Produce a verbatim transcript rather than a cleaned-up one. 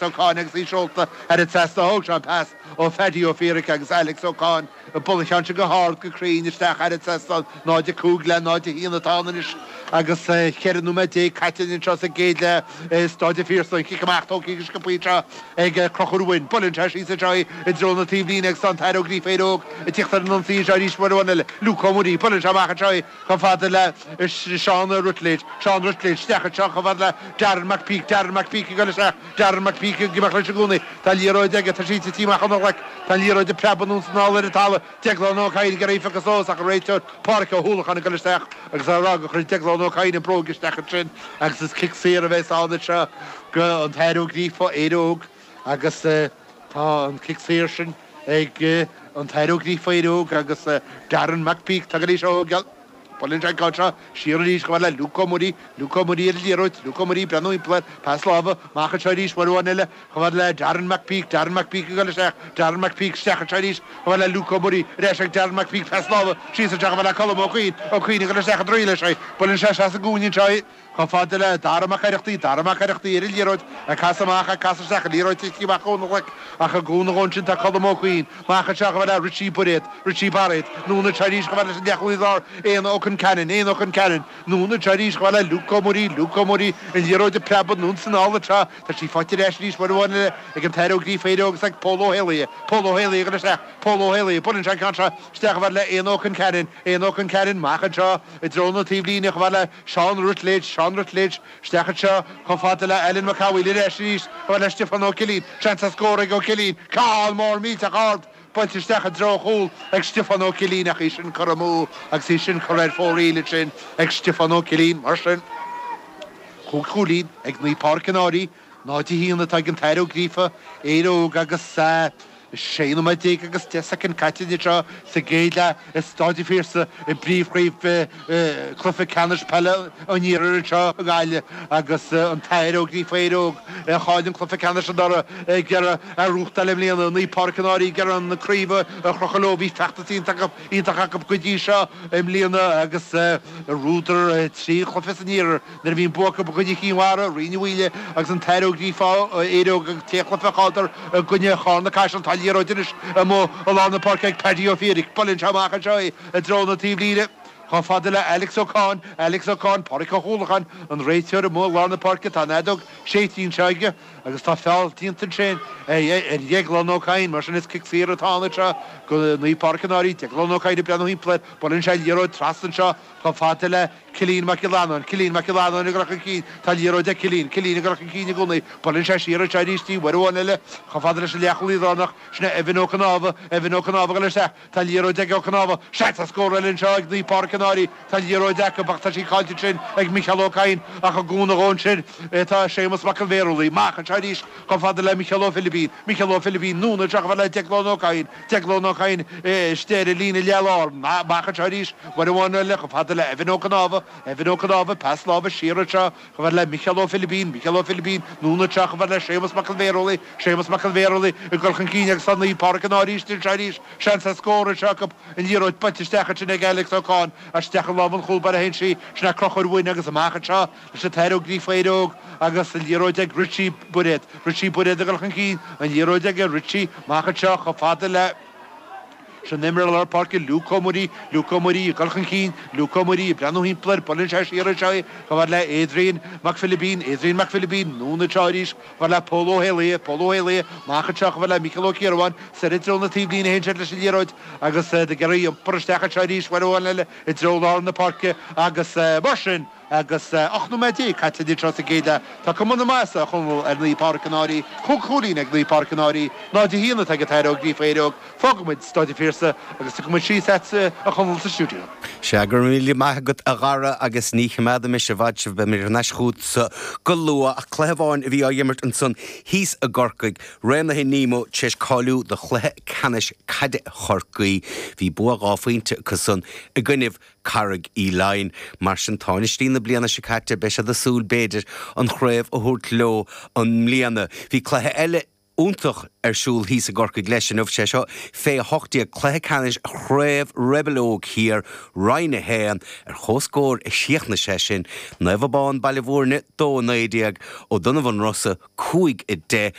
Ó Cadhain agus í seolta thar an trasnán. Thóg sé an pas ó Phaddy Ó Fiaraic agus Alex Ó Cadhain ag bualadh an cheann sin go hard go cruinn isteach thar an trasnán. náid a cúig le náid a haon atá ann anois agus ceithre nóiméad déag caite anseo sa gcéad leath i Stáid an Phiarsaigh. An cic amach tógtha go sciobtha anseo ag Conchúr Wynne. Buaileann sé síos anseo í i dtreo na taobhlíne agus tá an tAthair Ó Gríofa Éire Óg ag tíocht ar an ionsaí anseo arís uair amháin eile. Luke Ó Muirí. Buaileann sé amach anseo í chomh fada le Seán Ruttledge. Seán Ruttledge isteach anseo chomh fada le Darren McPeak. Darren McPeak ag dul isteach. Darren McPeak ag imeacht leis i gcónaí. Tá an liathróid aige. Tá sí tite amach óna ghlaic. Tá an liathróid ag preabadh anonn is anall ar an talamh. Deaglán Ó Cadhain ag iarraidh í a phiocadh suas ach an réiteoir Páraic Ó hUallacháin ag dul isteach agus á rá gur chuir Deaglán Ó Cadhain an bróg isteach ansin agus is cic saor a bheas ann anseo go an tAthair Ó Gríofa, Éire Óg agus tá an cic saor sin ag an tAthair Ó Gríofa, Éire Óg agus Darren McPeak tá go dtí seo ó Buaileann sé an ceann seo siar arís chomh fada le Luke Ó Muirí, Luke Ó Muirí ar an liathróid, Luke Ó Muirí ag breathnú thimpeall air, pas láimhe, amach anseo arís uair amháin eile chomh fada le Darren McPeak, Darren McPeak ag dul isteach, Darren McPeak isteach anseo arís chomh fada le Luke Ó Muirí, ar ais ag Darren McPeak, pas láimhe, síos anseo chomh fada le Colm Ó Cuinn, Ó Cuinn ag dul isteach i dtrí leis é, buaileann sé isteach sa gcúinne anseo é. Chomh fada le Dara Mac Oireachtaigh, Dara Mac Oireachtaigh ar an liathróid, ag casadh amach, ag casadh isteach, an liathróid tite amach óna ghlaic, ach i gcúnamh dhó ansin tá Colm Ó Cuinn, amach anseo chomh fada le Richie Bairéad, Richie Bairéad, anonn anseo arís chomh fada leis an leathchúlaí láir, Éanna Ó Concheanainn, Éanna Ó Concheanainn, anonn anseo arís chomh fada le Luke Ó Muirí, Luke Ó Muirí, an liathróid ag preabadh anonn is anall anseo, tá sí faighte ar ais arís uair amháin eile ag an tAthair Ó Gríofa Éire Óg agus ag Pól Ó hÉalaithe, Pól Ó hÉalaithe ag dul isteach, Pól Ó hÉalaithe, buaileann sé an ceann seo isteach chomh fada le Éanna Ó Concheanainn, Éanna Ó Concheanainn, amach anseo i dtreo na taobhlíne chomh fada le Seán Ruttledge, Seán Ruttledge, isteach anseo chomh fada le Alan Mac Amhaigh ar ais arís chomh fada le Stiofán Ó Cillín, seans ar scór ag Ó Cillín, ceann mór millteach ard buailte isteach i dtreo an chúil ag Stiofán Ó Cillín ach í sin curtha amú agus í sin curtha ar fóraoil ansin ag Stiofán Ó Cillín. Mar sin, cúig chúilín ag Naomh Pádraig an Fhairche, náid a haon atá ag an tAthair Ó Gríofa, Éire Óg agus. Sé nóiméad déag agus deich soicind caite anseo sa gcéad leath i Stáid an Phiarsaigh i bpríomhchraobh cluiche ceannais peile an Iarthair anseo i nGaillimh agus an tAthair Ó Gríofa Éire Óg a chaill an cluiche ceannais anuraidh ag iarraidh a ghnóthachtáil i mbliana. Naomh Pádraig an Fhairche ag iarraidh an craobh a chrochadh leo. Bhí feachtas iontach acu go dtí seo i mbliana agus bhuadar trí chluiche san iarthar nuair a bhí an bua acu i gcoinne Chinn Mhara, Rinn Uí Mhaoile agus an tAthair Ó Gríofa Éire Óg agus sé chluiche a chailleadar i gcoinne Charna Caiseal. Tá liathróid anois amuigh i lár na páirce ag Paddy Ó Fiaraic. Buaileann sé amach anseo í i dtreo na taobhlíne chomh fada le Alex Ó Cadhain. Alex Ó Cadhain, Pádraic Ó hUallacháin, an réiteoir amuigh i lár na páirce. Tá an fheadóg séidte anseo aige agus tá feall déanta ansin ar Dheaglán Ó Cadhain. Mar sin is cic saor atá ann anseo go Naomh Pádraig an Fhairche. Deaglán Ó Cadhain ag breathnú thimpeall air. Buaileann sé liathróid trasna anseo chomh fada le Cillian Mac Giollarnáin, Cillian Mac Giollarnáin ag dul chun cinn, tá an liathróid ag Cillian, Cillian ag dul chun cinn i gcónaí, buaileann sé siar anseo arís í uair amháin eile chomh fada leis an leathchúlaí lárnach, sin é Evan Ó Cnámha, Evan Ó Cnámha ag dul isteach, tá an liathróid ag Ó Cnámha, seans ar scór eile anseo ag Naomh Pádraig an Fhairche, tá an liathróid acu ach tá sí caillte ansin ag Micheál Ó Cadhain ach i gcúnamh dhó ansin tá Séamus Mac an Bhéarlaí, amach anseo arís chomh fada le Micheál Ó Philibín, Micheál Ó Philibín, anonn anseo chomh fada le Declan Ó Cadhain, Declan Ó Cadhain istigh ar an líne leath-lár, amach anseo arís uair amháin eile chomh fada le Evan Ó Cnámha, Evan Ó Cnámha, pas láimhe siar anseo chomh fada le Micheál Ó Philibín, Micheál Ó Philibín, anonn anseo chomh fada le Séamus Mac an Bhéarlaí, Séamus Mac an Bhéarlaí ag dul chun cinn agus tá Naomh Pádraig an Fhairche anseo arís, seans ar scór anseo acu, an liathróid buailte isteach ansin ag Alex Ó Cadhain, isteach i lámh an chúl báire a théann sí, sin é Conchúr Wynne agus amach anseo leis an tAthair Ó Gríofa Éire Óg agus an liathróid ag Richie Bairéad, Richie Bairéad ag dul chun cinn, an liathróid aige Richie, amach anseo chomh fada le. Sin imreoir lár páirce Luke Ó Muirí, Luke Ó Muirí ag dul chun cinn, Luke Ó Muirí ag breathnú thimpeall air, buaileann sé siar anseo í chomh fada le Adrian Mac Philibín, Adrian Mac Philibín, anonn anseo arís chomh fada le Pól Ó hÉalaithe, Pól Ó Héalaithe, amach anseo chomh fada le Micheál Ó Ciarabháin, soir i dtreo na taobhlíne a théann siad leis an liathróid agus iad ag iarraidh iompar isteach anseo arís uair amháin eile i dtreo lár na páirce agus mar sin Agus ocht nóiméad déag caite anseo sa gcéad leath, tá cuma na maitheasa, a Chonaill, ar Naomh Pádraig an Fhairche. Cúig chúilín ag Naomh Pádraig an Fhairche, náid a haon atá ag an tAthair Ó Gríofa Éire Óg. Fágfaidh muid Stáid an Phiarsaigh agus tiocfaidh muid síos agatsa, a Chonaill, sa stiúideo. Sea, go raibh míle maith agat, a Dhara, agus ní choimeádfaidh mise i bhfad sibh, beidh mé thar n-ais chugatsa go luath. Ach cluiche amháin a bhí á imirt ansan thíos i gCorcaigh, Raonaithe Nemo tar éis cáiliú do chluiche ceannais caide Chorcaí. Bhí bua dhá phointe acu san i gcoinnibh Carraig Uí Leighin. Mar sin, tánaistí na bliana seo caite, beidh siad ag súil, b'fhéidir, an chraobh a thabhairt leo i mbliana. Bhí cluiche eile iontach ar siúl thíos i gCorcaigh leis inniu sé seo fé hocht déag cluiche ceannais Chraobh Rebel Óg Thiar Roinn a haon ar chomhscór a chríochnaigh sé sin Naomh Abán Baile Bhúirne dó naoi déag Ó Donnabháin Rosa cúig a deich.